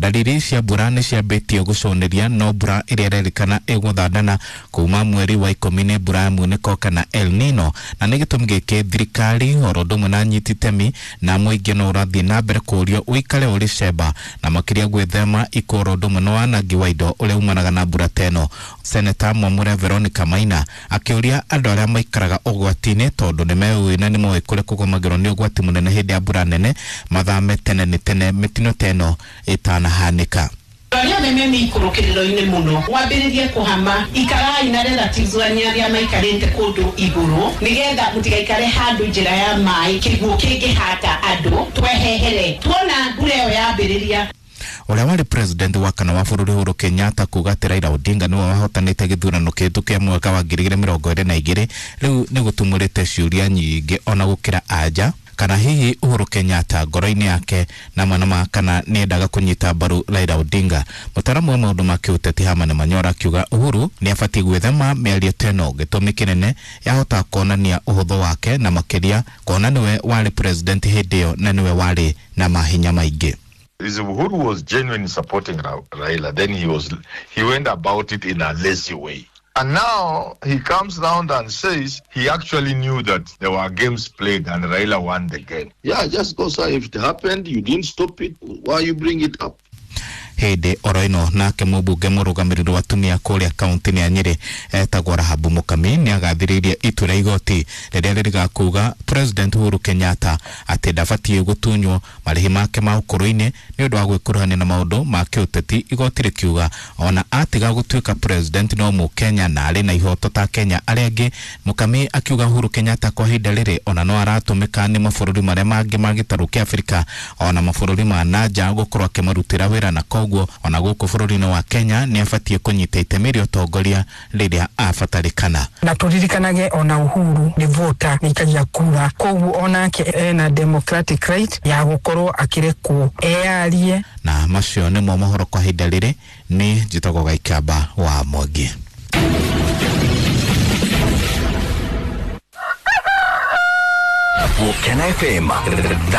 Ndariri cia mbura nĩ ciambĩtie gũcũnĩria, no mbura ĩrĩa ĩrerĩkana ĩgũthandana kuma mweri wa 10 nĩ mbura ya munĩko kana El Nino, na nĩ gĩtũmi gĩkĩ thirikari oro ũndũ ũmwe na anyiti itemi na mũingĩ no ũrathiĩ na mbere kũũrio ũikare ũrĩ cemba na makĩria gwĩthema ikuũ oro ũndũ ũmwe na wanangi wa indo ũrĩa umanaga na mbura ta ĩno. Seneta Mwamure Veronica Maina akĩũria andũ arĩa maikaraga ũgwati-inĩ tondũ nĩ meũĩ na nĩ moĩ kũrĩa kũgũmagĩrwo nĩ ũgwati mũnene hĩndĩ ya mbura nene mathame tene nĩ tene mĩtino ta ĩno ĩtanahanĩka. Arĩa othe me mĩikũrũkĩrĩro-inĩ mũno wambĩrĩrie kũhama, ikarai na relatives wanyu arĩa maikarĩte kũndũ igũrũ nĩgetha mũtigaikare handũ njĩra ya maĩ kĩguũ kĩngĩhata andũ, twehehere tuona mbura ĩyo yambĩrĩria. Ũrĩa warĩ president wa kana wa bũrũri Uhuru Kenyatta kuga atĩ Raila Odinga nĩwe wahotanĩte gĩthurano kĩhĩtũku kĩa mwaka wa 2022 rĩu nĩ gũtumũrĩte ciũria nyingĩ ona gũkĩra anja kana hihi Uhuru Kenyatta ngoro-inĩ yake na manama kana nĩendaga kũnyita mbaru Raila Odinga. Mũtaaramu wa maũndũ ma kĩũteti Herman Manyora akiuga Uhuru nĩabatiĩ gwĩthema mĩario ta ĩno, gĩtũmi kĩnene yahota kuonania ũhũthũ wake na makĩria kuona nĩwe warĩ president hĩndĩ ĩyo na nĩwe warĩ na mahinya maingĩ. If Uhuru was genuinely supporting Raila, then he went about it in a lazy way. And now he comes round and says he actually knew that there were games played and Raila won the game. Yeah, just go say if it happened, you didn't stop it, why you bring it up? Hĩndĩ oro ĩno nake mũmbunge mũrũgamĩrĩri wa atumia kũrĩa kaunti-inĩ ya Nyĩrĩ etagwo Rahabu Mukami nĩagathĩrĩirie itua rĩa igoti rĩrĩa rĩrĩga kuga President Uhuru Kenyatta atĩ ndabatiĩ gũtunywo marĩhi make ma ũkũrũ-inĩ nĩ ũndũ wa gwĩkuruhania na maũndũ ma kĩũteti. Igoti rĩkiuga ona atiga gũtuĩka president no mũkenya na arĩ na ihoto ta Kenya arĩa angĩ. Mukami akiuga Uhuru Kenyatta kwa ihinda rĩrĩ ona no aratũmĩka nĩ mabũrũri marĩa mangĩ ma gĩtarũ kĩa Afrika ona mabũrũri ma nanja gũkorwo akĩmarutĩra wĩra, na koguo ona gũkũ bũrũri-inĩ wa Kenya nĩ abatiĩ kũnyita itemi rĩa ũtongoria rĩrĩa abatarĩkana. Na tũririkanage ona Uhuru nĩ voter, nĩ aikagia kura, koguo onake ena democratic right ya gũkorwo akĩrekwo eyarie. Na macio nĩmo mohoro kwa ihinda rĩrĩ. Nĩ njĩtagwo Gaikamba wa Mwangi. Gũkena FM.